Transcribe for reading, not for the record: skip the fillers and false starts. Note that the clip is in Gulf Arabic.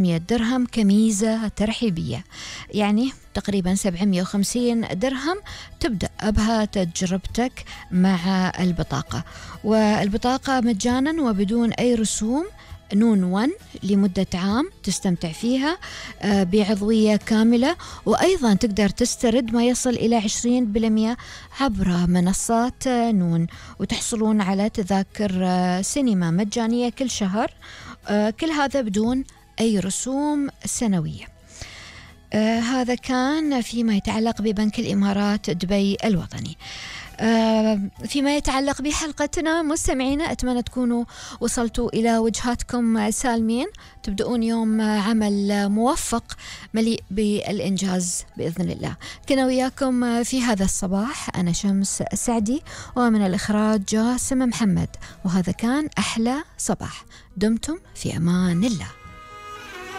درهم كميزة ترحيبية، يعني تقريبا 750 درهم تبدأ بها تجربتك مع البطاقة. والبطاقة مجانا وبدون أي رسوم، نون 1 لمدة عام تستمتع فيها بعضوية كاملة، وأيضا تقدر تسترد ما يصل إلى 20% عبر منصات نون، وتحصلون على تذاكر سينما مجانية كل شهر، كل هذا بدون أي رسوم سنوية. هذا كان فيما يتعلق ببنك الإمارات دبي الوطني. فيما يتعلق بحلقتنا مستمعينا، أتمنى تكونوا وصلتوا إلى وجهاتكم سالمين، تبدأون يوم عمل موفق مليء بالإنجاز بإذن الله. كنا وياكم في هذا الصباح أنا شمس السعدي، ومن الإخراج جاسم محمد، وهذا كان أحلى صباح. دمتم في أمان الله.